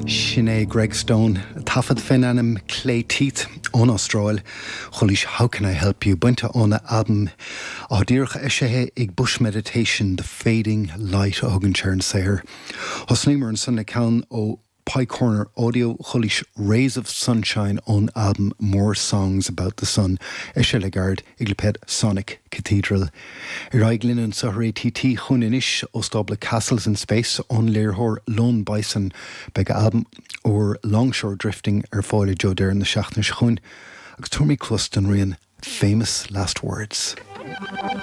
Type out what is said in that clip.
Sin é Greg Stone, taifead fén ainm Clay Teeth ón Astráil. Chualaís How Can I Help You bainte óna albam atá díreach eisithe ag Bush Meditation, The Fading Light a thugann sé ar an saothar. Thosnaíomar ansan le ceann ó Pie Corner Audio, chualaís Rays of Sunshine ón albam More Songs About the Sun, eisithe le gairid ag lipéad Sonic Cathedral. Ar aghaidh linn anseo ar ATT chugainn anois ó stábla Castles in Space ón léiritheoir Lone Bison. Beidh a albam úr Longshore Drifting ar fáil i dtreo deireadh na seachtaine seo chugainn agus tabharfaimid cluas don rian Famous Last Words.